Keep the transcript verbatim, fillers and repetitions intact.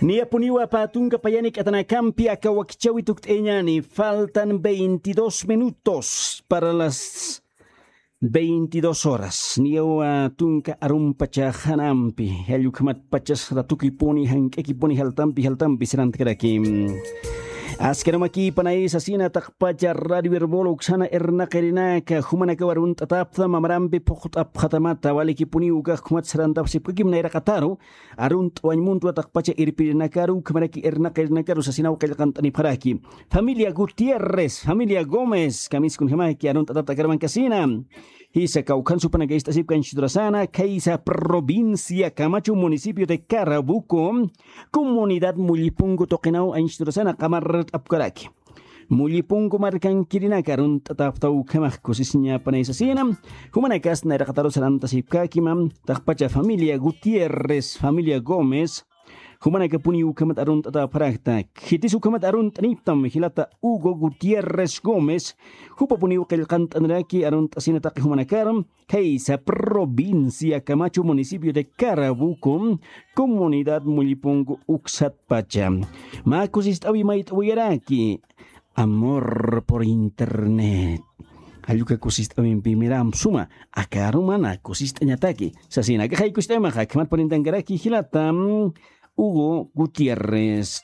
Niyapuniwa pä tunka payani k'atanakampi aka wakichawi tukt'ayañani. Faltan veintidós minutos para las veintidós horas. Niyawa tunka arumpacha janampi, jallukhamat pachas ratukipuni jank'akipuni jaltampi jaltampi sirantakaraki. Askarumakïpanay sasina taqpacha radio herbol uksana irnaqirinaka jumanakaw arunt'atapta mamarampi phuqt'apxatamata walikipuniw ukax khumat sarantapsipkakim nayraqataru. Arunt'wañ muntwa taqpacha irpirinakaru ukhamaraki irnaqirinakaru sasinaw qillqant'anipxaraki. Familia Gutiérrez, familia Gómez kamiskunjamaki arunt'atapta akarmankasina. Jisa kawkhan supanaka ist'asipka anchhiturasana khaysa provincia Camacho, municipio de Carabuco, comunidad Mullipunku tuqinaw anchhiturasana qamart'apkaraki. Mullipunku markankirinaka arunt'atapta ukhamax kusisiñapanay sasina. Jumanakas nayraqataru sarantasipkäkima. Taqpacha familia Gutiérrez, familia Gómez, jumanakapuniw ukhamat arunt'atapxarakta. Khitis ukhamat arunt'aniptam jilata Hugo Gutiérrez Gómez. Jupapuniw qillqant'aniraki arunt'asina taqi jumanakaru khaysa provincia Camacho, municipio de Carabuco, comunidad Mullipunku uksatpacha. Mä kusist'awi mayt'awiyaraki. Amor por internet. Jalluka kusist'awimpi miram suma, aka arumana kusist'añataki sasina aka jaykusist'awimaxa khamat purintankaraki jilata Hugo Gutiérrez.